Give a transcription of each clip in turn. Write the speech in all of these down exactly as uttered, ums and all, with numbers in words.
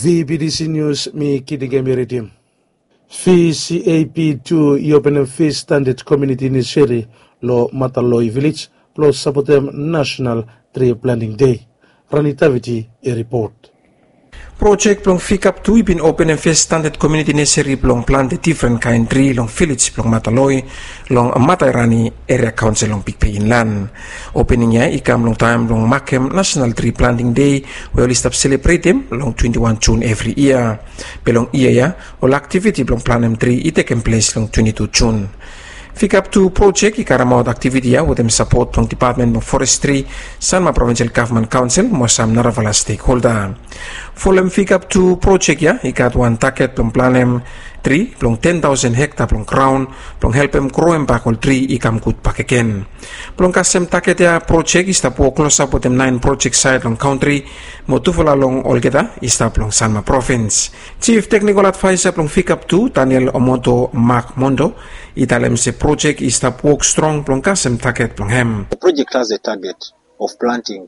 V B T C News, mi Kitingemi Ritim. V C A P two i openem fes standard community nursery lo Mataloi Village blo sapotem National Tree Planting Day. Rani Taviti i ripot. Projek blong Fikap tu i bin openem fes standard community nursery blong plante difren kaen tri long village blong Mataloi long Matairani Area Council long Big Bay Inland. Opening ya i kam long taem blong makem National Tree Planting Day we oli stap selebretem long twenty one June evri yia. Be long yia ya, ol aktiviti blong planem tri i tekem ples long twenty two June. Fikap tu projek i karemaot aktiviti ya wetem sapot blong Depatmen blong Forestri, Sanma Provincial Government Council mo sam narafala stekholda. Folem Fikap tu projek ya i gat wan taget blong planem tri blong ten taosen hekta blong graon blong helpem groem bak ol tri i kam gud bakegen. Blong kasem taget ya projek i stap wok klosap wetem naen projek saed long kantri mo tufala long olgeta i stap long Sanma Provins. Jif Teknikol Advaesa blong Fikap tu, Daniel Omoto Mak Mondo, i talem se projek i stap wok strong blong kasem taget blong hem. The project has a target of planting,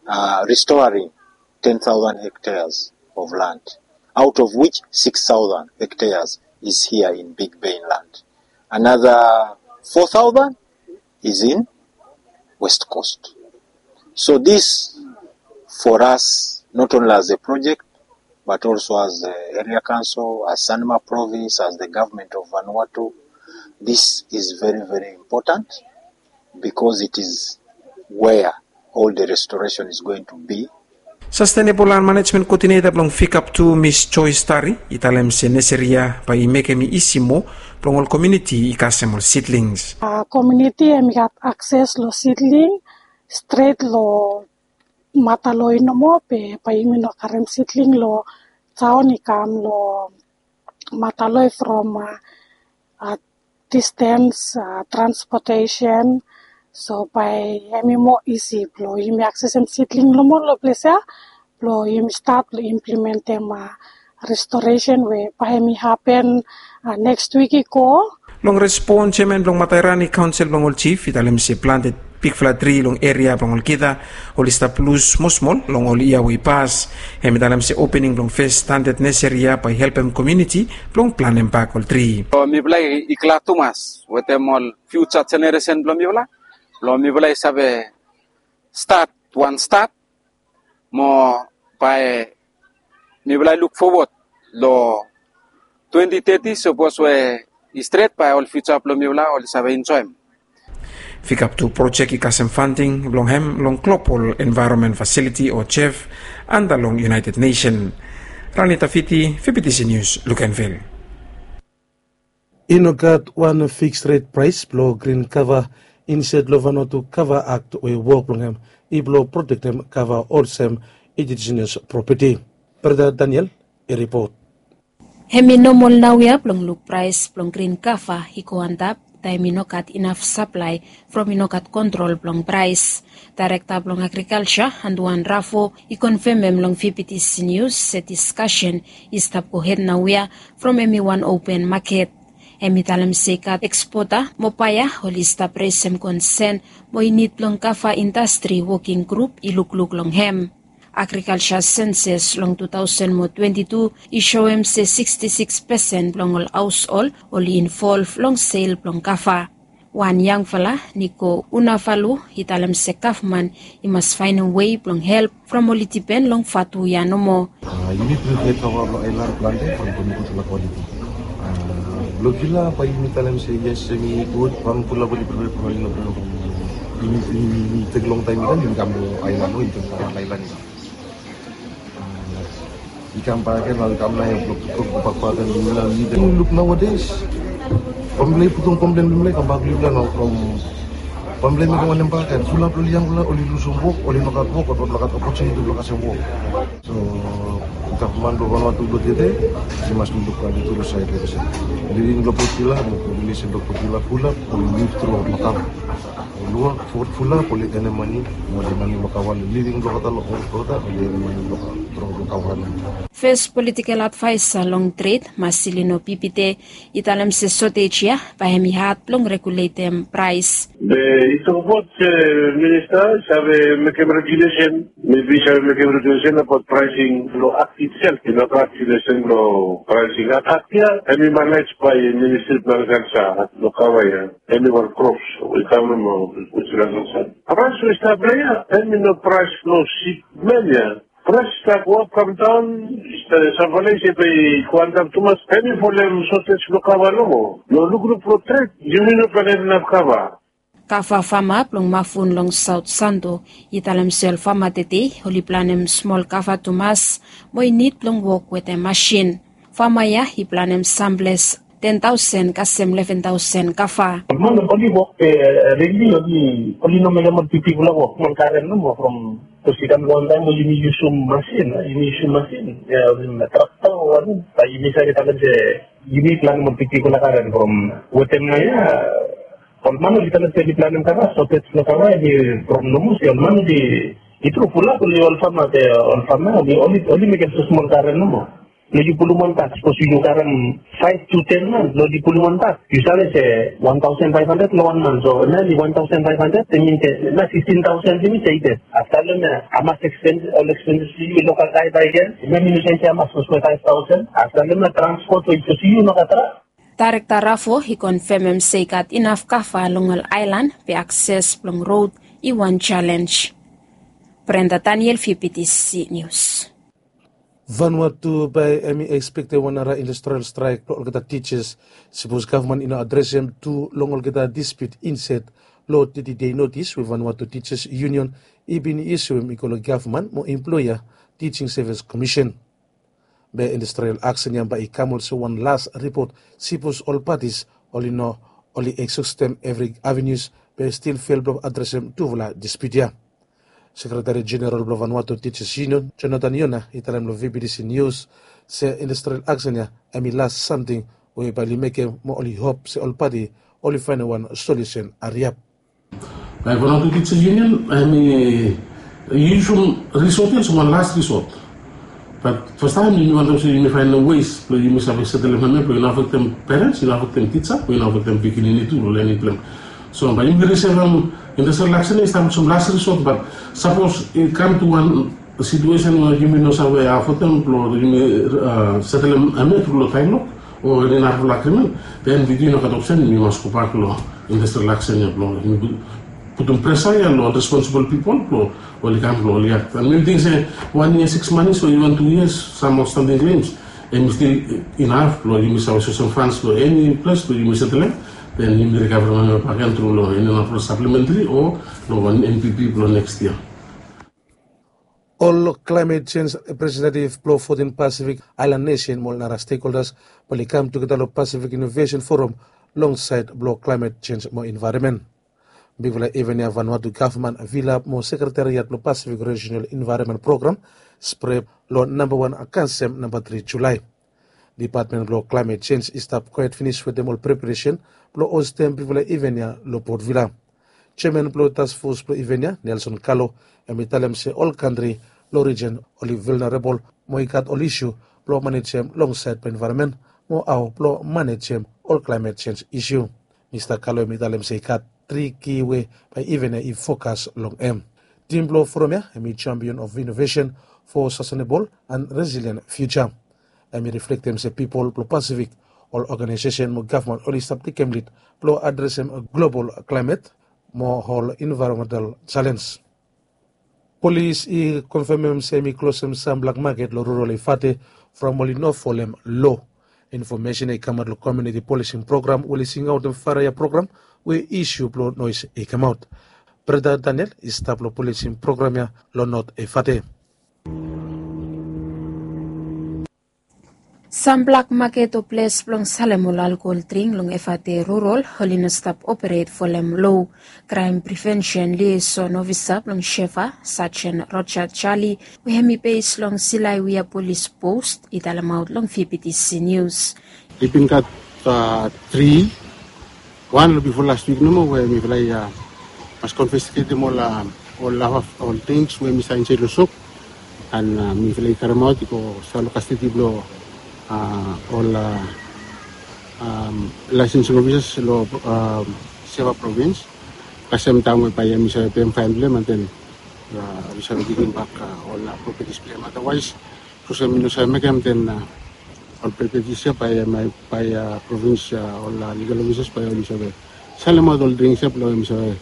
uh, restoring ten thousand hectares of land, out of which six thousand hectares is here in Big Bay Inland. Another four thousand is in West Coast. So this, for us, not only as a project, but also as the area council, as Sanma Province, as the government of Vanuatu, this is very, very important because it is where all the restoration is going to be. Sustainable Land Management Coordinator blong Fikap tu, Miss Joyce Tari, i talem se nursery ya bae i mekem i isi moa blong ol komuniti i kasem ol seedlings. Ah, komuniti hemi gat akses lo seedling stret lo Mataloi nomo, be bae yumi no karem seedling lo taon i kam lo Mataloi from, ah, ah, distance, ah, transportation. So bae hemi moa isi blo yumi aksesem seedling nomo lo ples ya blo yumi stat lo implementem, ah, restoration we bae hemi hapen, ah, neks wik i go. Long respon, jeaman blong Matairani Kaonsel blong ol jif i talem se plante bigfala tri long eria blong olgeta oli stap lus smolsmol long ol yia we i pas. Hemi talem se opening blong fes standad neseri ya bae i helpem komuniti blong planem bak ol tri. So mifala i glad tumas wetem ol fiuja jeneresen blong mifala, blong mifala i save stat wan stat mo bae mifala i luk fowod lo twenti teti, sapos we i stret bae ol fiuja blong mifala oli save enjoem. Fikap tu projek i kasem fanding blong hem long Global Environment Facility o jef anda long United Nation. Rani Tafiti, V B T C News, Luganville. I no gat wan fiks ret praes blo grin kava insaed lo Vanuatu Kava Akt we wok blong hem i blo protektem kava olsem indijinus propeti. Brata Daniel i ripot. Hemi nomol naoia blong luk praes blong grin kava i go antap taem i no gat inaf saplae from i no gat kontrol blong praes. Daerekta blong Agrikalja, Anduan Rafo, i konfemem long V B T C Nius se diskasen i stap gohed naoia from hemi wan open maket. Hemi talem se i gat ekspota mo baea oli stap resem konsen mo i nid blong kava indastri woking grup i lukluk long hem. Agrikalja senses long tu taosen mo twenti tu i soem se siksti siks pesen blong ol haoshol oli involv long sel blong kava. Wan yangfala, Niko Unafalu, i talem se gavman i mas faenem wei blong help from oli dipen long vatu ya nomo. Ah, yumi prepare kava blong aelan plante from gutfala kwaliti. Ah, blong kila bae yumi talem se yes, hemi gud, bang pulap oli prepare from aelan, yumi, yumi tek long taem i kam, yumi kam long aelan, no, yumi kam long aelan i kam. I kam bakegen, nao i kam nao ia blong gobak bakegen long mifala. Yumi luk naodaes bambae i putum komplen blong mifala i kambak long mifala nao from bambae i mekem wanem bakegen, fulap long ol yangfala oli lusum wok, oli no gat wok, oli no gat opotuniti blong kasem wok. So gavman blong Vanuatu blong tede i mas lukluk blong tede long saed blong kasem living blong pokila mo populesen blong pokila fulap oli liv tru long kava. Lua fotfula oli enemani mo oli mani blong kava long living blong olgeta long olgeta oli enemani blong kava long. Fes politikel advaesa long tret Marcelino Pipite i talem se sotej ya bae hem i had blong reguletem praes. Be i tokbaot se minista i save mekem regulesen, mebi i save mekem regulesen abaot praesing blong akt itsel, i no gat regulesen blong praesing akt ya. Hem i manaj bae ministri blong agrikalsa blong kava ya. Eni wan krops we i kam long we i stap long san. Praes we i stap long ya, eni no praes blong sipmen ya. Praes i stap go ap kam daon. Samfala i se be i go antap tumas, eni folem sotej blong kava nomo. Long lukluk blong tret yumi no plan inap kava. Kava fama blong Mafun long Saot Santo i talem se ol fama tede oli planem smol kava tumas mo i nid blong wok wetem masin. Fama ya i planem samples ten taosen kasem leven taosen kava. Ol man oli wok, be rili oli no mekem ol bigfala wok, smol garen nomo from, bikos i kam long wantaem we yumi yusum masin, yumi yusum masin, trakta o wanem, bae yumi save talem se yumi planem ol bigfala garen from wetem nao ya. Ol man oli talem se oli planem kava, sotej blong kava hemi from nomo se ol man oli, i tru fulap oli ol fama, be ol fama oli, oli mekem smol garen nomo. Blong yu pulum wan bak, sapos yu karem faef tu ten man, blong yu pulum wan bak, yu save se wan taosen faef handred long wan man. So hemia hemi wan taosen faef handred, hemi min se nao sikistin taosen hemi se i ded. Afta long hemia hamas ekspens, ol ekspens blong yu, lokal gae bae i givim, hemia mi no save se hamas, sapos we faef taosen. Afta long hemia transpot we i sapos yu no gat tra. Daerekta Rafo i konfemem se i gat inaf kava long ol aelan be akses blong rod i wan jalenj. Brenda Daniel, V P T C News. Vanuatu bae hemi ekspektem wan nara industrial straek blong olgeta tijas, sapos gavman i no adresem tu long olgeta dispiut insaed long teti dei notis we Vanuatu Tijas Yunion i bin isum i go long gavman mo emploea, Tijing Sevis Komisen. Be industrial aksen ya bae i kam olsem wan las ripot, sapos ol patis oli no, oli eksoostem evri avenius be stil fel blong adresem tufala dispiut ya. Sekreteri Jeneral blong Vanuatu Tijas Yunion, Jonathan Yona, i talem long V P T C Nius se industrial aksen ya hemi las samting we bae oli mekem mo oli hop se ol pati oli faenem wan solusen hariap. Bae Vanuatu Tijas Yunion hemi yusum risot ya olsem wan las risot. Bat fastaem yumi wantem se yumi faenem wes blong yumi save setelem hemia blong i no afektem perens, i no afektem tija, blong i no afektem pikinini tu blong lenim blong hem. So bae yumi risevem industrial aksen ya i stap olsem las risot, bat sapos i kam tu wan situesen we yumi no save afodem blong yumi setelem hemia tru long taem lok o eni narafala agrimen, den wi tu i no gat opsen, yumi mas gobak long industrial aksen ya blong yumi putum presa ya long responsibol pipol blong oli kam blong oli akt. An mi ting se wan yia siks manis o iven tu yias, sam aotstanting klems, hemi stil inaf blong yumi save soesem fans long eni ples blong yumi setelem, den yumi rikaverem hemia bakegen tru long eni narafala saplementri o long wan N P P blong neks yia. Ol klaemet jenj representetiv blong fotin Pasifik aelan nesen mo ol nara stekholdas bae oli kam tugeta long Pasifik Inovesen Foram longsaed blong klaemet jenj mo envaeronmen. Bigfala iven ya Vanuatu gavman vilap mo sekretariat blong Pasifik Rejinal Envaeronmen Program, SPREP, long nambawan Kansem namba tri Julae. Dipatmen blong klaemet jenj i stap kwaet finis wetem ol preparesen blong ostem bigfala iven ya long Port Vila. Jeaman blong task fos blong iven ya, Nelson Kalo, hemi talem se ol kantri long rijen oli vulnerabol mo i gat ol isu blong manejem longsaed blong envaeronmen mo hao blong manejem ol klaemet jenj isu. Mista Kalo hemi talem se i gat tri ki we bae iven ya i fokas long hem. Tim blong foram ya hemi Champion of Innovation for Sustainable and Resilient Future. Hemi riflektem se pipol blong Pasifik, ol oganaesesen mo gavman oli stap tekem lid blong adresem global klaemet mo ol envaeronmental jalenj. Polis i konfemem se hemi klosem sam blak maket long rural Efate from oli no folem loa. Infomesen ya i kamaot long komuniti polising program we oli singaotem faraia program we isu blong noes i kamaot. Brenda Daniel i stap long polising program ya long Not Efate. Sam blak maket o ples blong salem ol alkohol dring long Efate rural oli no stap operet folem loa. Kraem privensen liaeson ofisa blong Shefa, Sajen Roja Jali, we hemi bes long Silaiwia Polis Pos, i talemaot long V P T C Nius. I bin gat tri, wan long bifo las wik nomo we mifala i Mas konfisketim ol ol ol tings we mi save insaed long sop. An mifala i karemaot i go stap long kastedi blong ol laesensing ofisas long seva provins. Kasem taem we bae mi save pem faen blong em an den mi save givim bak ol propetis blong em. Adawaes sapos em i no save mekem den ol propetis ya bae provins ol ligal ofisas bae oli save salemaot ol drings ya blong em i save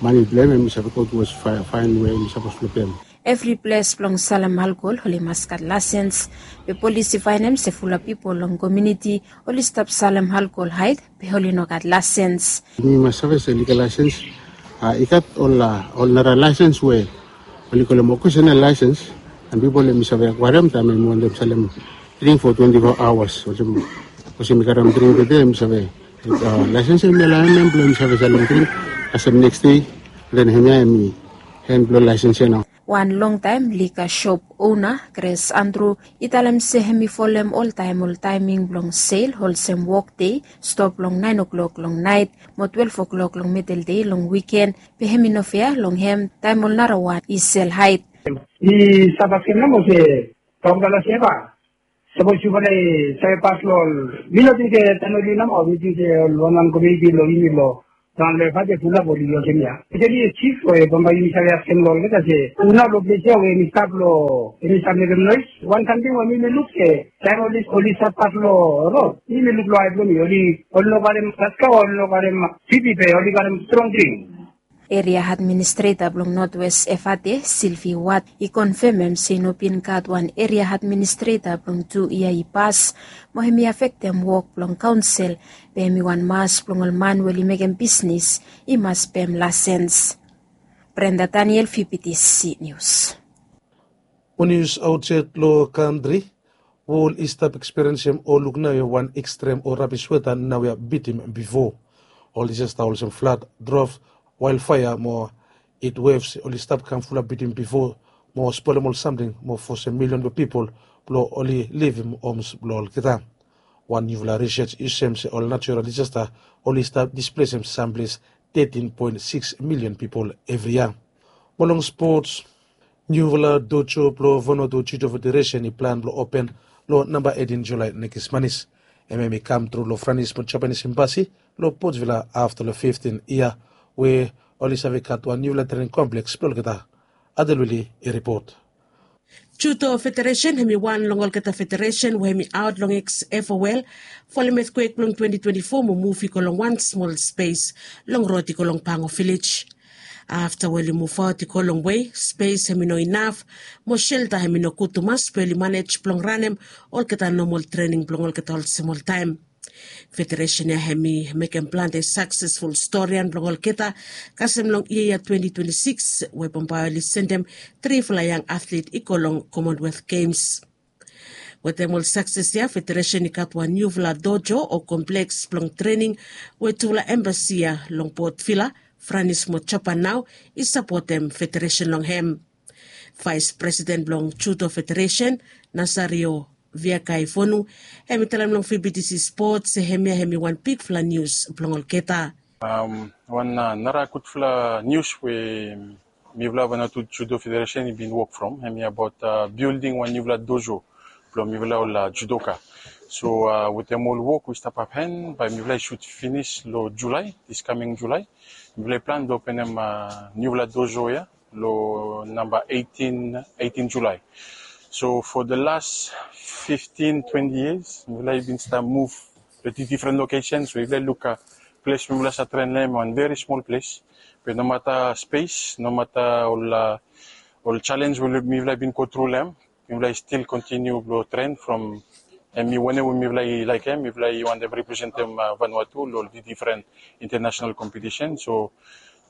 mane blong em em i save go tuwas faen we em i sapos blong pem. Evri ples blong salem alkol oli mas gat laesens. Be polis i faenem se fulap pipol long komiuniti oli stap salem alkol haed be oli no gat laesens. Mi mas save se ligal laesens i gat ol nara laesens we oli kolem okesenal laesens. An pipol em i save akwaerem taem em i wantem salem dring fo twenti fo aoas olsem sapos em i karem dring tede em i save laesens em i alaoem em blong em i save salem dring kasem neks dei. Den hemia em i en blong laesens ya nao. Wan longtaem lika sop ona Gres Andru i talem se hem i folem oltaem ol taeming blong sel olsem wokdei stop long naen o'klok long naet mo twelef o'klok long midel dei long wiken. Be hem i no fea long hem taem ol narawan i sel haed. Mi stap askem nao olse, bambae la seva sapos yufala i save pas long ol, mi no ting se taem oli nao mi ting se ol wanwan komiuniti long yumi long raon long evate fulap oli olsem ya. Speseli sif we bambae yumi save askem long olgeta se hu nao long ples ya we em i stap long em i stap mekem noes. Wan samting we mi mi luk se taem oli stap pas long rod mi mi luk long ae blong mi oli oli no karem paska oli no karem pipi be oli karem strong dring. Eria administreta blong notwes evate silvi wat i konfemem se i no bin gat wan eria administreta blong tu yia i pas mo hem i afektem wok blong kaonsel. Be hem i wan mas blong ol man we oli mekem bisnes i mas pem lasens. Brenda daniel fibitisi nius. Wan nius aotsaed long kantri. Wol i stap ekspiriensim o luk naoia wan ekstrem o rabis weta naoia bitim bifo. Ol disasta olsem flad, drof, waelfaea mo hitwefs oli stap kam fulap bitim bifo mo spolem ol samting mo fosem milion blong pipol blong oli livim homs blong olgeta. Wan niufala risej i sem se ol natural disasta oli stap displesem samples tetin poen siks milion pipol evri yia. Mo long spots, niufala dojo blong vanatu judo federesen i plan blong open long namba eitin julae nekis manis. Em em i kam tru long franis mo japanis embasi long potvila afta long fiftin yia we oli save gat wan niufala trening kompleks blong olgeta. Adelwili i ripot. Judo federesen hem i wan long olgeta federesen we hem i aot long eksefowel folem etkwek blong twenti twenti fo mo muv i go long wan smol spes long rod i go long pango vilej. Afta we oli muvaot i go longwe spes hem i no inaf mo shelta hem i no gud tumas be oli manej blong ranem olgeta nomol trening blong olgeta olsem oltaem. Federesen ya hem i mekem plante saksesful storian blong olgeta kasem long yia ya twenti twenti sikis we bambae oli sendem trifala yang atlet i go long komonwelth gems. Wetem ol sakses ya federesen i gat wan niufala dojo o kompleks blong trening we tufala embasi ya long potvila, franis mo japan nao i sapotem federesen long hem. Vaes presiden blong judo federesen, nasario viakai vonu, hem i talem long fibitisi spot se hemia hem i wan bigfala nius blong olgeta. Wan nara gudfala nius we mifala vanatu judo federesen i bin wok from hemia abaot bilding wan niufala dojo blong mifala ol judoka. So wetem ol wok we i stap apen bae mifala i sut finis long julae, diskaming julae mifala i plan blong openem niufala dojo ya long namba eitin julae. So fo de las fiftin twenti yias mifala i bin stap muv long difren lokesen. So mifala i luk ples we mifala save tren long hem wan veri smol ples. Be nomata spes nomata ol jalenj we mifala i bin gotru long hem, mifala i stil kontiniu blong tren from hem i wanem we mifala i laekem mifala i wantem representem vanua tu long ol difren intenasenal kompetisen. So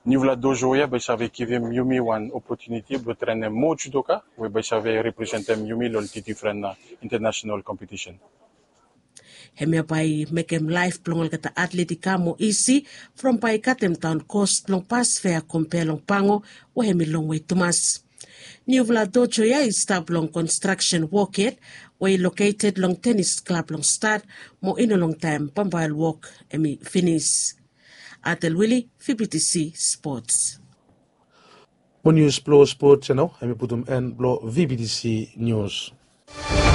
niufala dojo ya bae i save givim yumi wan opotuniti blong trenem moa judoka we bae i save representem yumi long ol difren intenasenal kompetisen. Hemia bae i mekem laef blong olgeta atlet i kam moa isi from bae i katem daon kos blong pas fea kompea long pango we hem i longwe tumas. Niufala dojo ya i stap long konstraksen wok yet we i loketed long tenis klab long stat mo i no longtaem bambae ol wok hem i finis. Atel Wili, V B T C Sports. Mo nius blong spot ya nao em i putum en blong V B T C nius.